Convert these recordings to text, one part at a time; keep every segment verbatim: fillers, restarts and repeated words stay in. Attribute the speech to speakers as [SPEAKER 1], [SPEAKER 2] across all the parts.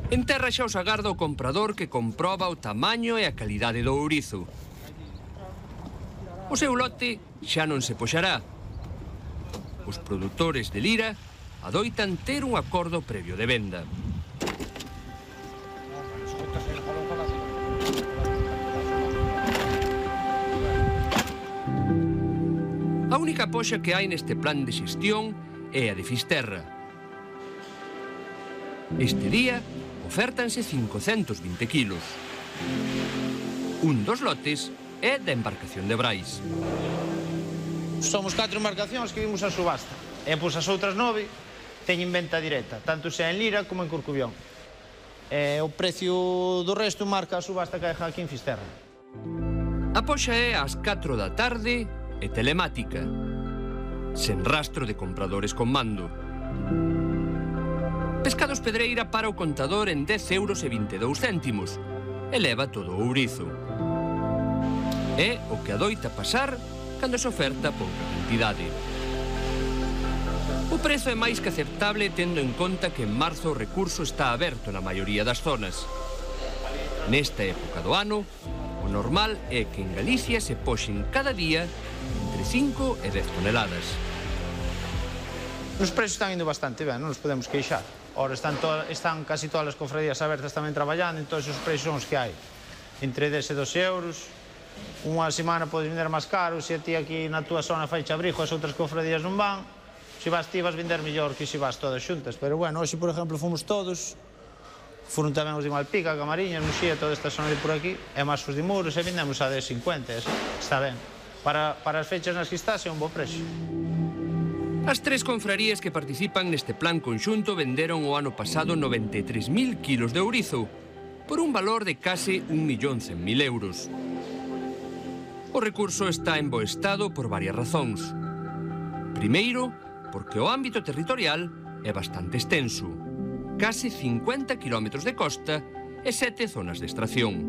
[SPEAKER 1] En terra xa os agarda o comprador que comproba o tamaño e a calidade do ourizo. O seu lote xa non se poxará. Os produtores de lira adoitan ter un acordo previo de venda. A única poxa que hai neste plan de xestión é a de Fisterra. Este día ofértanse cincocentos vinte kilos. Un dos lotes é da embarcación de Brais.
[SPEAKER 2] Somos catro embarcacións que vimos a subasta. E pois as outras nove teñen venta directa, tanto sea en Lira como en Corcubión. E o precio do resto marca a subasta que deja aquí en Fisterra.
[SPEAKER 1] A poxa é ás catro da tarde e telemática, sen rastro de compradores con mando. Pescados Pedreira para o contador en dez euros e vinte e dous céntimos e leva todo o ourizo. É o que adoita pasar cando se oferta pouca cantidade. O prezo é máis que aceptable tendo en conta que en marzo o recurso está aberto na maioría das zonas. Nesta época do ano, o normal é que en Galicia se poxen cada día entre cinco e dez toneladas.
[SPEAKER 2] Os prezos están indo bastante ben, non nos podemos queixar. Ora están, están casi todas as cofradías abertas tamén traballando, entón os prezos son os que hai. Entre dez e doce euros. Unha semana podes vender máis caro, se a ti aquí na túa zona faiche abrigo, as outras cofradías non van. Se vas ti vas vender mellor que se vas todas xuntas. Pero bueno, hoxe, por exemplo, fomos todos. Foron tamén os de Malpica, Camariñas, Muxía, toda esta zona de por aquí. E máis os de Muros, e vendemos a dez cincuenta. Está ben. Para, para as fechas nas que estás é un bo precio.
[SPEAKER 1] As tres confrarías que participan neste plan conxunto venderon o ano pasado noventa e tres mil kilos de ourizo por un valor de case un millón cen mil euros. O recurso está en bo estado por varias razóns. Primeiro, porque o ámbito territorial é bastante extenso. Case cincuenta kilómetros de costa e sete zonas de extracción.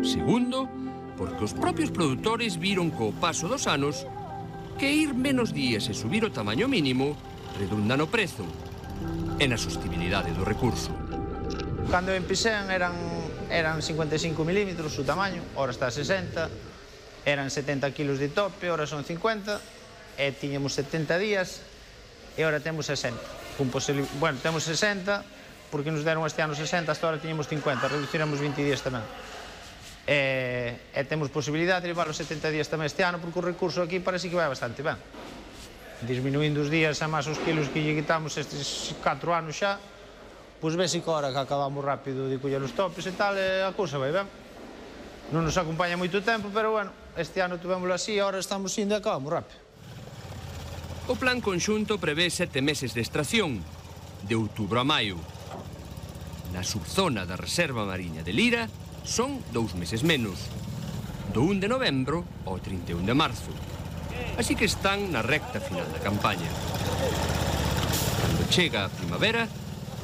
[SPEAKER 1] Segundo, porque os propios produtores viron co paso dos anos que ir menos días e subir o tamaño mínimo redunda no prezo e na sostibilidade do recurso.
[SPEAKER 2] Cando empecéan eran, eran cincuenta e cinco milímetros o tamaño, ora está a sesenta, eran setenta kilos de tope, ora son cincuenta, e tiñamos setenta días, e ora temos sesenta. Bueno, temos sesenta, porque nos deron este ano sesenta, hasta ora tiñamos cincuenta, reduciremos vinte días tamén. E, e temos posibilidade de levar os setenta días tamén este ano, porque o recurso aquí parece que vai bastante ben. Disminuindo os días a máis os kilos que lle quitamos estes catro anos xa, pois vese que ahora que acabamos rápido de coller os topes e tal, e a cousa vai ben. Non nos acompaña moito tempo, pero bueno, este ano tuvémoslo así, ahora estamos indo e acabamos rápido.
[SPEAKER 1] O plan conxunto prevé sete meses de extracción, de outubro a maio. Na subzona da Reserva Mariña de Lira son dous meses menos, do un de novembro ao trinta e un de marzo. Así que están na recta final da campaña. Cando chega a primavera,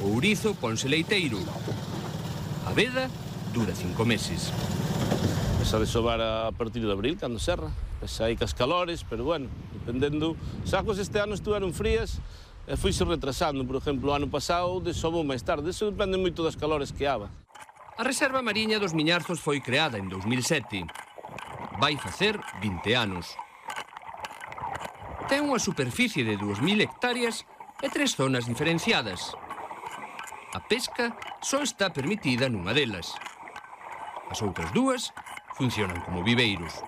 [SPEAKER 1] o ourizo ponse leiteiro. A veda dura cinco meses.
[SPEAKER 3] Pesa de sobar a partir de abril, cando serra. Pesa aí cas calores, pero bueno, dependendo... Os sacos este ano estuveron frías e fuise retrasando. Por exemplo, o ano pasado desobou máis tarde. Eso depende moito das calores que haba.
[SPEAKER 1] A Reserva Mariña dos Miñarzos foi creada en dous mil sete. Vai facer vinte anos. Ten unha superficie de dúas mil hectáreas e tres zonas diferenciadas. A pesca só está permitida nunha delas. As outras dúas funcionan como viveiros.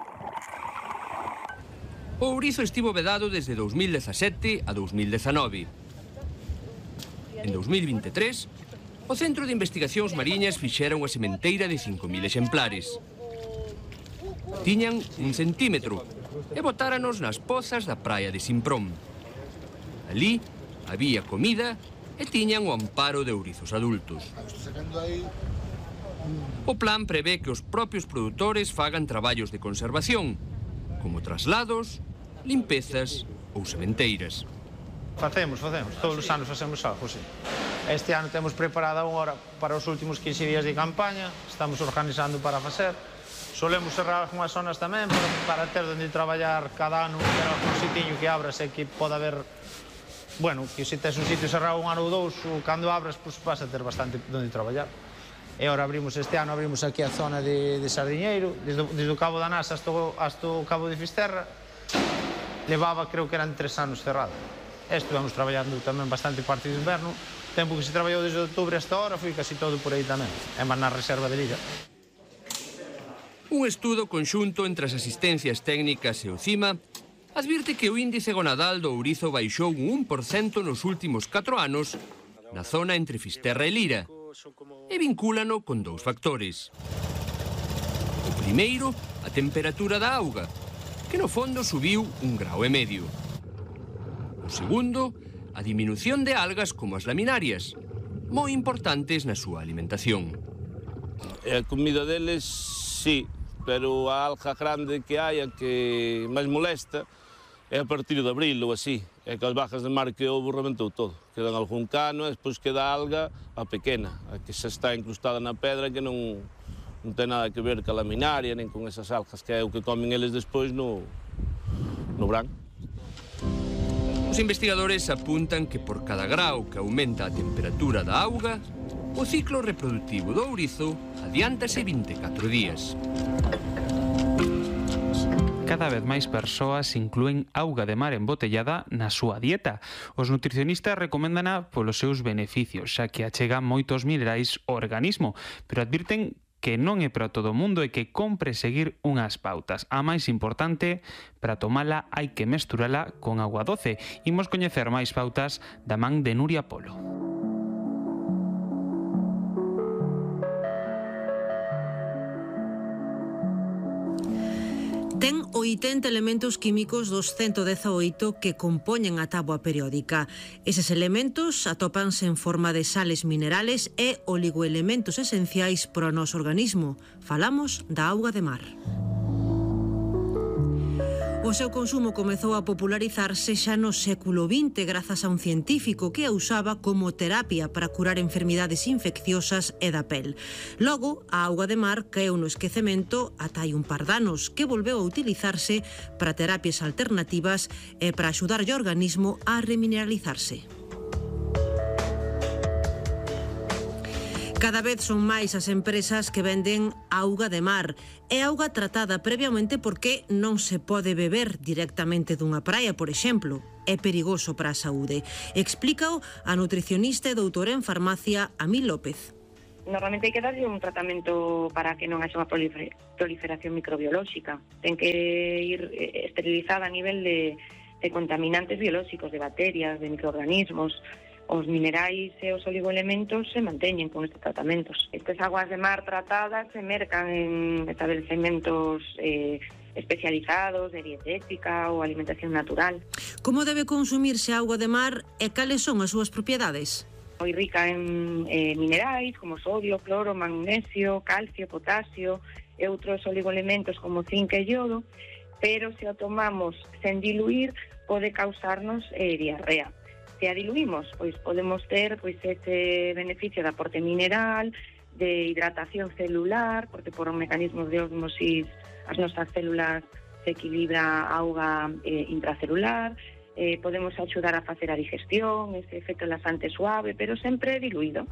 [SPEAKER 1] O ourizo estivo vedado desde dous mil dezasete a dous mil dezanove. En dous mil vinte e tres, o Centro de Investigacións Mariñas fixera unha sementeira de cinco mil exemplares. Tiñan un centímetro e botáranos nas pozas da praia de Simprón. Alí había comida e tiñan o amparo de ourizos adultos. O plan prevé que os propios produtores fagan traballos de conservación, como traslados, limpezas ou sementeiras.
[SPEAKER 2] Facemos, facemos. Todos os anos facemos algo, sí. Este ano temos preparada unha hora para os últimos quince días de campaña, estamos organizando para facer. Solemos cerrar algunhas zonas tamén para, para ter onde traballar cada ano, ter algún sitiño que abra, sei que pode haber bueno, que se tes un sitio cerrado un ano ou dous, cando abras, pois vas a ter bastante onde traballar. E agora abrimos este ano, abrimos aquí a zona de, de Sardiñeiro, desde, desde o Cabo da Nasa hasta, hasta o Cabo de Fisterra, levaba, creo que eran tres anos cerrado. E estivemos traballando tamén bastante parte do inverno, tempo que se traballou desde outubro hasta ahora, foi casi todo por aí tamén, e máis na reserva de Lilla.
[SPEAKER 1] Un estudo conxunto entre as asistencias técnicas e o CIMA advirte que o índice gonadal do ourizo baixou un un por cento nos últimos catro anos na zona entre Fisterra e Lira, e vincúlano con dous factores. O primeiro, a temperatura da auga, que no fondo subiu un grau e medio. O segundo, a diminución de algas como as laminarias, moi importantes na súa alimentación.
[SPEAKER 3] A comida deles, sí, pero a alga grande que hai, a que máis molesta, é a partir de abril ou así. É que as bajas de mar que houve rebentou todo. Quedan algún cano e despois queda a alga a pequena, a que xa está incrustada na pedra, que non, non ten nada que ver ca laminaria, nen con esas algas, que é o que comen eles despois no, no verán.
[SPEAKER 1] Os investigadores apuntan que por cada grau que aumenta a temperatura da auga, o ciclo reproductivo do ourizo adiántase vinte e catro días.
[SPEAKER 4] Cada vez máis persoas inclúen auga de mar embotellada na súa dieta. Os nutricionistas recoméndana polos seus beneficios, xa que achega moitos minerais ao organismo, pero advirten que non é para todo o mundo e que compre seguir unhas pautas. A máis importante, para tomala hai que mesturala con agua doce. Imos coñecer máis pautas da man de Nuria Polo.
[SPEAKER 5] Ten oitenta elementos químicos dos ciento dezaoito que compoñen a táboa periódica. Eses elementos atópanse en forma de sales minerales e oligoelementos esenciais para o noso organismo. Falamos da auga de mar. O seu consumo comezou a popularizarse xa no século vinte grazas a un científico que a usaba como terapia para curar enfermidades infecciosas e da pel. Logo, a auga de mar caeu no esquecemento ata hai un par de anos, que volveu a utilizarse para terapias alternativas e para axudar o organismo a remineralizarse. Cada vez son máis as empresas que venden auga de mar. É auga tratada previamente porque non se pode beber directamente dunha praia, por exemplo. É perigoso para a saúde. Explícao a nutricionista e doutora en farmacia Amil López.
[SPEAKER 6] Normalmente hai que darlle un tratamento para que non haxa unha proliferación microbiolóxica. Ten que ir esterilizada a nivel de, de contaminantes biolóxicos, de bacterias, de microorganismos. Os minerais e os oligoelementos se manteñen con estes tratamentos. Estas aguas de mar tratadas se mercan en establecementos eh, especializados de dietética ou alimentación natural.
[SPEAKER 5] Como debe consumirse a auga de mar e cales son as súas propiedades?
[SPEAKER 6] Moi rica en eh, minerais como sodio, cloro, magnesio, calcio, potasio e outros oligoelementos como zinc e iodo, pero se o tomamos sen diluir pode causarnos eh, diarrea. Se a diluímos, pois podemos ter pois ese beneficio de aporte mineral, de hidratación celular, porque por un mecanismo de osmosis as nosas células se equilibra a auga eh, intracelular, eh, podemos axudar a facer a digestión, ese efecto laxante suave, pero sempre diluído.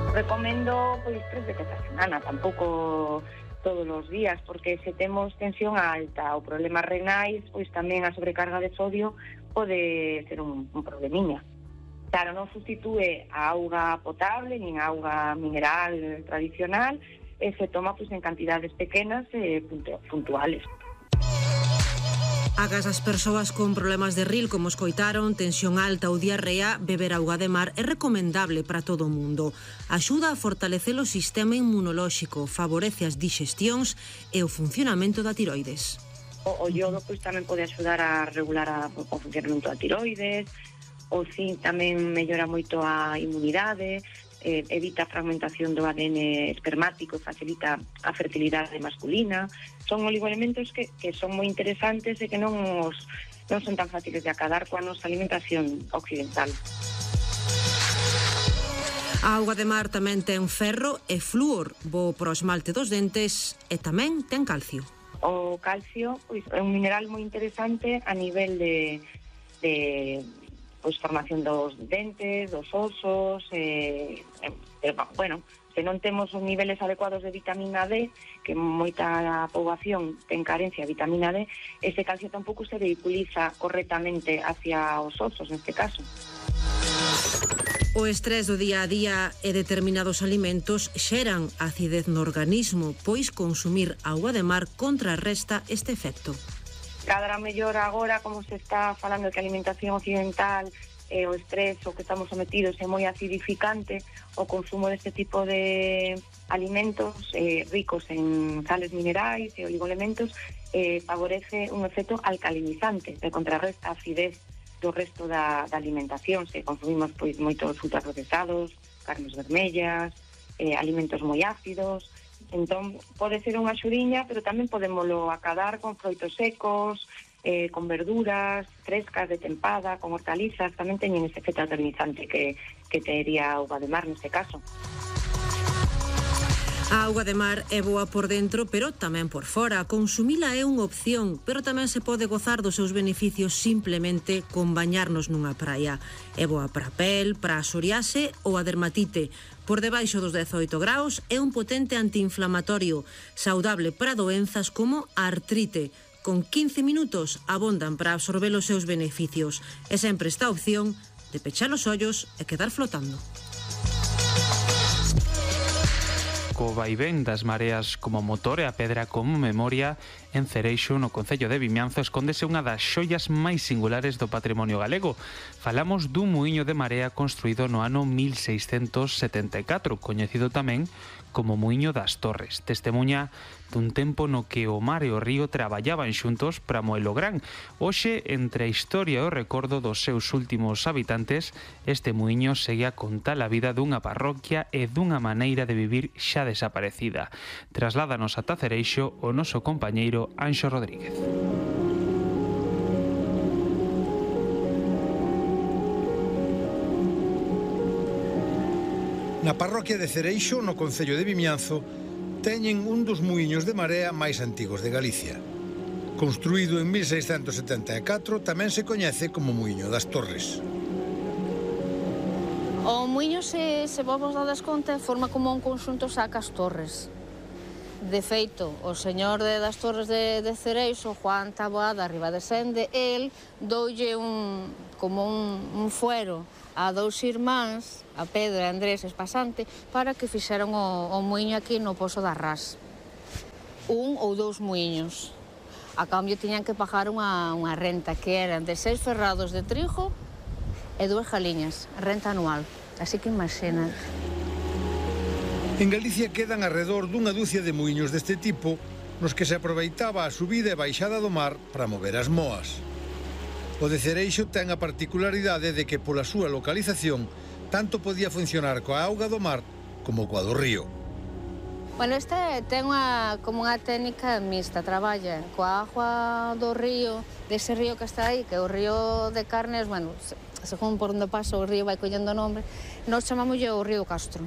[SPEAKER 6] Recomendo pois tres veces a semana, tampouco todos os días, porque se temos tensión alta ou problemas renais, pois tamén a sobrecarga de sodio pode ser un, un problemiña. Claro, non sustitúe a auga potable nin a auga mineral tradicional, e se toma pois en cantidades pequenas e puntuales.
[SPEAKER 5] Agas as persoas con problemas de ril, como escoitaron, tensión alta ou diarrea, beber auga de mar é recomendable para todo o mundo. Axuda a fortalecer o sistema inmunolóxico, favorece as digestións e o funcionamento da tiroides.
[SPEAKER 6] O, o iodo pois, tamén pode axudar a regular a, o funcionamento da tiroides, o zinc tamén mellora moito a inmunidade, eh, evita a fragmentación do A D N espermático e facilita a fertilidade masculina. Son oligoelementos que, que son moi interesantes e que non, os, non son tan fáciles de acadar coa nosa alimentación occidental.
[SPEAKER 5] A auga de mar tamén ten ferro e flúor, bo para o esmalte dos dentes, e tamén ten calcio.
[SPEAKER 6] O calcio pois, é un mineral moi interesante a nivel de, de pois, formación dos dentes, dos osos, eh, eh, bueno, se non temos os niveles adecuados de vitamina D, que moita poboación ten carencia de vitamina D, ese calcio tampouco se vehiculiza correctamente hacia os osos, neste caso.
[SPEAKER 5] O estrés do día a día e determinados alimentos xeran acidez no organismo, pois consumir auga de mar contrarresta este efecto.
[SPEAKER 6] Cada mellor agora, como se está falando de que a alimentación occidental e o estrés o que estamos sometidos é moi acidificante, o consumo deste tipo de alimentos eh, ricos en sales minerais e oligoelementos eh, favorece un efecto alcalinizante que contrarresta a acidez do resto da, da alimentación. Se consumimos pois moitos ultraprocesados, carnes vermellas, eh, alimentos moi ácidos, entón pode ser unha axudiña, pero tamén podémolo acadar con froitos secos, eh, con verduras frescas de tempada, con hortalizas, tamén teñen ese efecto alcalinizante que, que tería a auga de mar neste caso.
[SPEAKER 5] A auga de mar é boa por dentro, pero tamén por fora. Consumila é unha opción, pero tamén se pode gozar dos seus beneficios simplemente con bañarnos nunha praia. É boa para a pel, para a psoriase ou a dermatite. Por debaixo dos dezoito graus é un potente antiinflamatorio, saudable para doenzas como a artrite. Con quince minutos abondan para absorber os seus beneficios. E sempre esta opción de pechar os ollos e quedar flotando.
[SPEAKER 4] Co vaivén das mareas como motor e a pedra como memoria, en Cereixo, no concello de Vimianzo, escóndese unha das xoias máis singulares do patrimonio galego. Falamos dun muiño de marea construído no ano mil seiscentos setenta e catro, coñecido tamén como Muiño das Torres. Testemuña dun tempo no que o mar e o río traballaban xuntos para moelo gran. Hoxe, entre a historia e o recordo dos seus últimos habitantes, este muiño segue a contar a vida dunha parroquia e dunha maneira de vivir xa desaparecida. Trasládanos ata Cereixo o noso compañeiro Anxo Rodríguez.
[SPEAKER 7] Na parroquia de Cereixo, no concello de Vimianzo, teñen un dos muiños de marea máis antigos de Galicia. Construído en mil seiscentos setenta e catro, tamén se coñece como Muiño das Torres.
[SPEAKER 8] O muiño, se, se vos dades conta, forma como un conxunto sacas torres. De feito, o señor de, das Torres de, de Cereixo, Juan Taboada, arriba de Sende, el doulle un, como un, un fuero a dous irmáns, a Pedro e Andrés Espasante, para que fixeran o, o muiño aquí no Pozo da Ras. Un ou dous muiños. A cambio tiñan que pagar unha, unha renta que eran de seis ferrados de trigo e dúas galiñas, renta anual. Así que imagina.
[SPEAKER 7] En Galicia quedan alrededor dunha dúcia de muiños deste tipo nos que se aproveitaba a subida e baixada do mar para mover as moas. O de Cereixo ten a particularidade de que pola súa localización tanto podía funcionar coa auga do mar como coa do río.
[SPEAKER 8] Bueno, este ten unha, como unha técnica mixta, traballa coa agua do río, dese río que está aí, que é o río de Carnes, bueno, según por onde pasa o río vai collendo nome, nós chamámoslle o río Castro.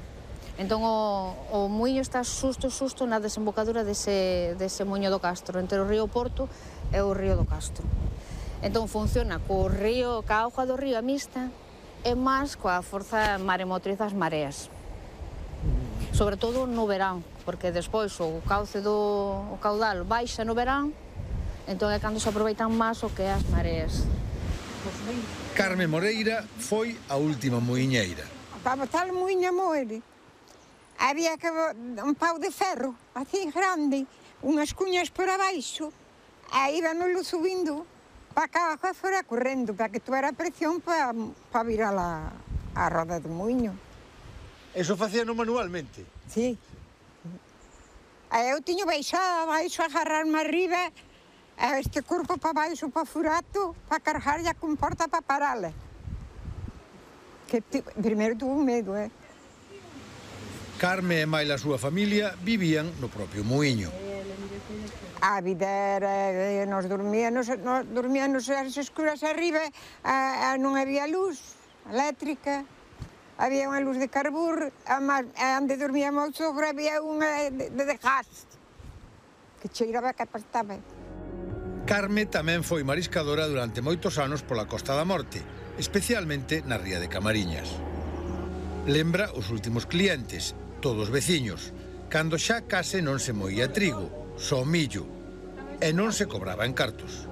[SPEAKER 8] Entón o, o muiño está xusto, xusto na desembocadura dese, dese muiño do Castro, entre o río Porto e o río do Castro. Entón funciona co río, ca auga do río a mixta e máis coa forza maremotriz das mareas. Sobre todo no verán, porque despois o cauce do o caudal baixa no verán, entón é cando se aproveitan máis o que as mareas.
[SPEAKER 7] Carme Moreira foi a última muiñeira.
[SPEAKER 9] Para botar o muiño a moer, había que un pau de ferro, así grande, unhas cuñas por abaixo, e íbanolo subindo para que a agua fora correndo, para que tuera presión para, para virar a, a roda do muiño.
[SPEAKER 7] Eso facíano manualmente?
[SPEAKER 9] Sí. E eu tiño baixado abaixo, agarrarme arriba, este corpo para baixo, para furato, para cargar e a comporta para parala. Que primeiro tuvo medo, eh?
[SPEAKER 7] Carme e máis a súa familia vivían no propio muiño.
[SPEAKER 9] A vida era, nos dormíanos, nos dormíanos as escuras arriba, a, a, non había luz eléctrica, había unha luz de carbur, a, a onde dormíamos sobre había unha de, de gas, que cheiraba que apastaba.
[SPEAKER 7] Carme tamén foi mariscadora durante moitos anos pola Costa da Morte, especialmente na ría de Camariñas. Lembra os últimos clientes, todos veciños, cando xa case non se moía trigo, só millo, e non se cobraba en cartos.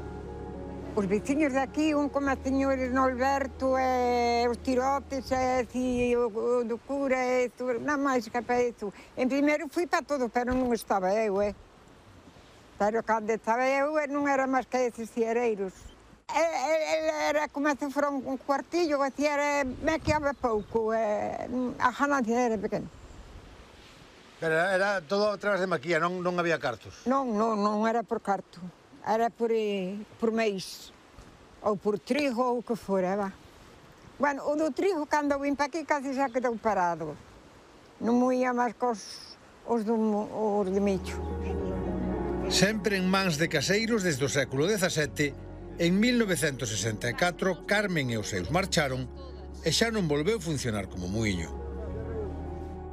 [SPEAKER 9] Os veciños de aquí, un como a señores Norberto, e os tirotes, e si, o, o do cura, e tu, non máis que para iso. En primeiro fui para todo, pero non estaba eu, eh. Pero cando estaba eu, non era máis que eses ciereiros. Ele era como se fora un cuartillo, así era, me quedaba pouco, e, a ganancia era pequena.
[SPEAKER 7] Pero era todo a través de maquilla, non, non había cartos?
[SPEAKER 9] Non, non, non era por carto. Era por, por mês, ou por trigo, ou o que fora, va. Bueno, o do trigo, cando vim para aquí, casi xa quedou parado. Non moía máis cos os, do, os de millo.
[SPEAKER 7] Sempre en mans de caseiros desde o século dezasete, en mil novecentos sesenta e catro, Carmen e os seus marcharon e xa non volveu funcionar como muiño.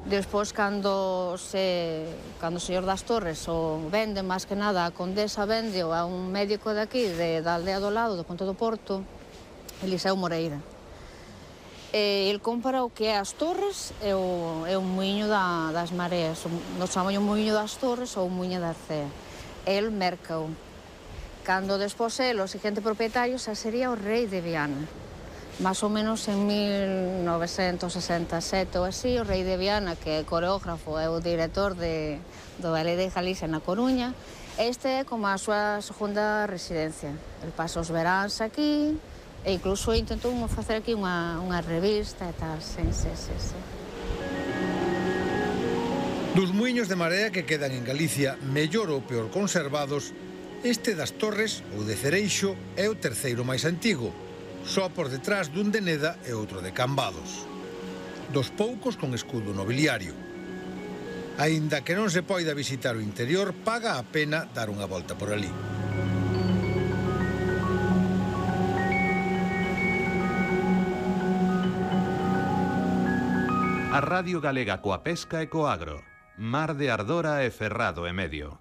[SPEAKER 8] Despois, cando se, cando o señor das Torres o vende, máis que nada, a condesa vende a un médico de aquí, de, da aldea do lado, do Ponte do Porto, Eliseo Moreira. E ele compra o que é as Torres e o, é o muiño da, das Mareas. Nos chamamos o muiño das Torres ou o muiño da Cea. El merca-o. Cando despois el, o seguinte propietario, xa sería o rei de Viana. Más ou menos en mil novecentos sesenta e sete ou así, o rei de Viana, que é coreógrafo, é o director de, do Ballet de Galicia na Coruña, este é como a súa segunda residencia. El pasa os veráns aquí, e incluso intentou facer aquí unha, unha revista e tal, sí, sí, sí, sí.
[SPEAKER 7] Dos muiños de marea que quedan en Galicia, mellor ou peor conservados, este das Torres, ou de Cereixo, é o terceiro máis antigo, só por detrás dun de Neda e outro de Cambados. Dos poucos con escudo nobiliario. Aínda que non se poida visitar o interior, paga a pena dar unha volta por ali.
[SPEAKER 10] A Radio Galega coa pesca e co agro. Mar de Ardora e Ferrado e Medio.